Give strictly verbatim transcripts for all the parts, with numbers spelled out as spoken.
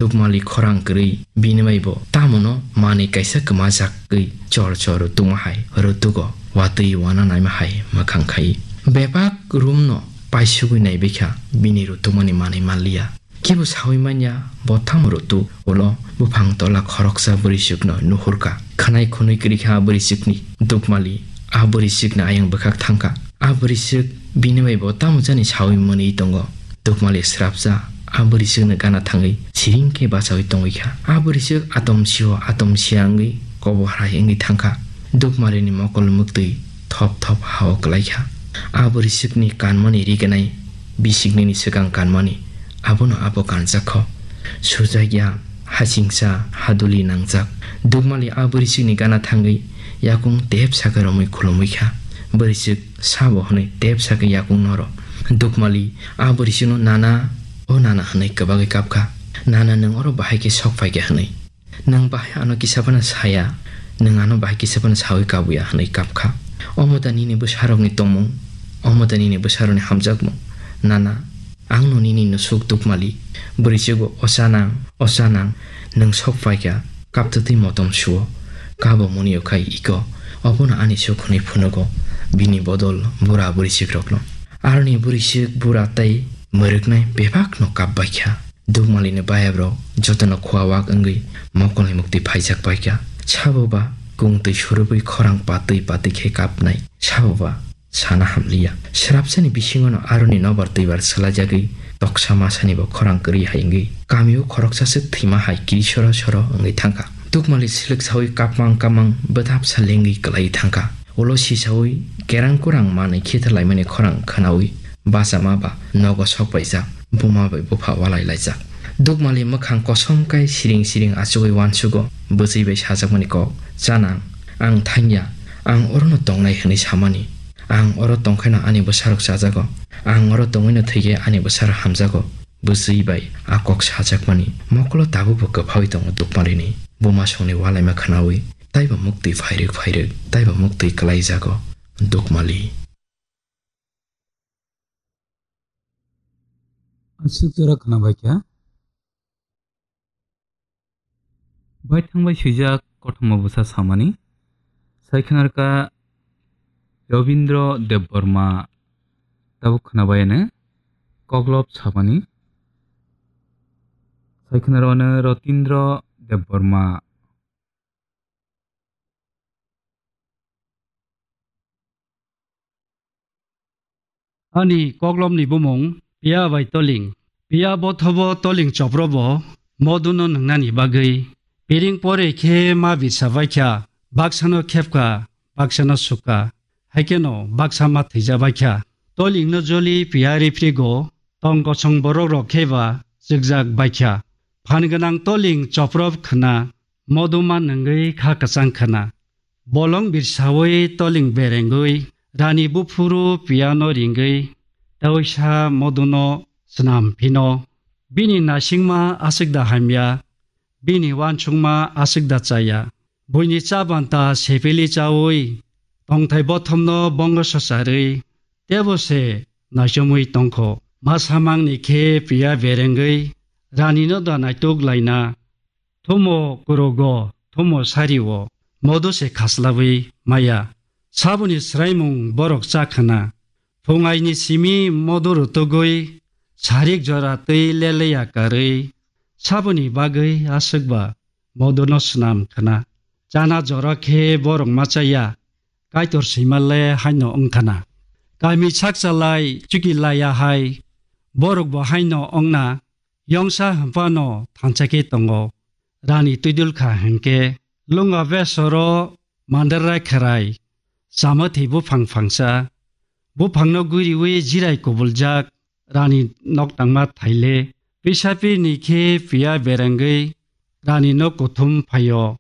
Dukmali khorang kwrwi bini bai bo tamono manwi kaisa kwmajak twi chor chor rwtwkma hai rwtwgo, watwi wana naima hai mwkhang khai. Bebak room no paisugwi naibaikha, bini rwtwkmani manwi manliya. Kebo sawi manya bo tamo rwtwk, ulo buphang tola khoroksa bwrwiswkno nuhurkha. Khwnai khwnwi kwrwikha a bwrwiswkni. Dukmali a bwrwiswkni ayang bwkhak thangkha. A bwrwiswk bini bai bo tamo jani sawi mwnwi tongo. Dukmali srapsa a bwrwiswkni gana thangwi siring khe bachaui tongwi kha. A bwrwiswk atom sio atom sia wngwi kobo hai wngwi thangkha. Dukmalini mokol mwktwi thop thop ha-o kwlaikha. A bwrwiswkni kanmani riganai bisiknini swkang kanmani abono abo kanjak kho. Sujak ya, hasingsa, haduli nangjak. Dukmali a bwrwiswkni gana thangwi yakung tep sakhe romwi khulumwi kha. Bwrwiswk sabo hwnwi tep sakhe yakung noro. Dukmali a bwrwiswkno, "Nana, o nana," hwnwi kwbagwi kapkha. "Nana, nwng oro bahai khe sok phaikha," hwnwi. "Nwng bahai ano kisa phano saya, nwng ano bahai kisa phano sawi kabuya," hwnwi kapkha. Omo da nini bwsarokni tongmung, omo da nini bwsarokni hamjakmung. Nana, ang no nini no suk Dukmali. Bwrwi chugo, "O chanang, o chanang, nwng sok phaikha, kaptwtwi motom suo, kabo mwnwi okhai iko, obono ani suk," hwnwi phunugo bini bodol bura bwrwi chikrokno. Aroni bwrwi chik bura tei mwrwknai bebakno kapbaikha. Dukmalini bayabrok jotono khua wak wngwi mokolni mukti phaijak paikha. Sabo ba kung twi surubwi khorang patwi patwi khe kapnai. Sabo ba sana hamliya. Srapsani bisingono aroni nobar twibar swlaijagwi toksa masani bo khorang kwrwi hai wngwi kamio khoroksa swk thwima hai kiri soro soro wngwi thangkha. Dukmali swlwk sawi kapmang kapmang bwthap sa lengwi kwlaiwi thangkha. Ulo sisaui kerang kurang manwi khitha laimani khorang khwnaui bachama ba nogo sok paijak, buma bai bupha walai laijak. Dukmali mwkhang kosom kai siring siring achugui uansugo, bwchwi bai sajakmani kok, "Chanang, ang thangya, ang orono tongnai hwnwi samani. Ang oro tongkhaino ani bwsarok chajago, ang oro tongwino thwikhe ani bwsarok hamjago." Bwchwi bai a kok sajakmani mokolo tabukbo kwphaui tongo Dukmalini. Buma songni walaima khwnaui taibo muktwi phairwk phairwk, taibo muktwi kwlaijago Dukmali. Aswk jora khwnabaikha. Baithang bai swijak kothoma bwsa samani. Sai khwnarwkha Robindra Debbarma tabuk khwnabai ano koklop samani. Sai khwnarwkha Rotindra Debbarma. Ani koklopni bumung Piya bai Toling. Piya bothobo Toling choprobo moduno nwngnani bagwi. Piring pore khe ma bisa baikha, baksano khepkha, baksano sukha, haikheno baksa ma thwija baikha. Tolingno joli Piya riphrigo, tong kosong borokrok kheba chwkjak baikha. Phan gwnang Toling choprop khwna, moduma nwngwi kha kwchang khwna. Bolong birsaui Toling berengwi, rani buphuru Piyano ringwi, tauisa moduno snam phino. Bini naisingma aswkda hamya, bini uansukma aswkda chaya. Buini chabanta sepili chaui, tongthai bothomno bongo swcharwi, tebo se naichomwi tongkho. Ma samangni khe Piya berengwi, ranino da naituk laina. Thumo kurugo, thumo sario, modo se khaslabwi maya. Saboni swraimung borok cha khwna. Phungaini simi modo rutugwi, sarik jora twi leleya karwi. Saboni bagwi aswkba modono snam khwna. Chana jora khe borok ma chaya. Kaitor swimalle haino wngkhana. Kami sakchalai chuki laya hai, borokbo haino wngna, yongsa hwnphano thansa khe tongo. Rani twidulkha hwnkhe, lunga besoro mandarai kherai, chamathwi buphang phangsa, buphangno guriui jirai kubuljak, rani nok tangma thaile, pisapirni khe Piya berengwi rani nok kuthum phaio.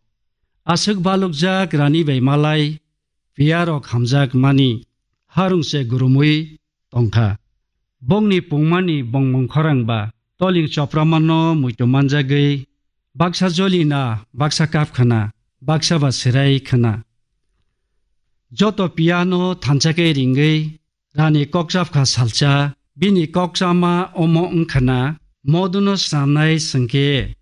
Aswk balukjak rani bai malai, Piyarok hamjak mani harung se gurumui tongkha. Bongni pungmani bongmung khorang ba Toling chopramano muitu manjagwi baksa jolina, baksa kap khwna, baksa ba sirai khwna. Joto Piyano thansa khe ringwi rani kokchap kha salsa, bini kokchama omo wngkhana, moduno snamnai swngkhe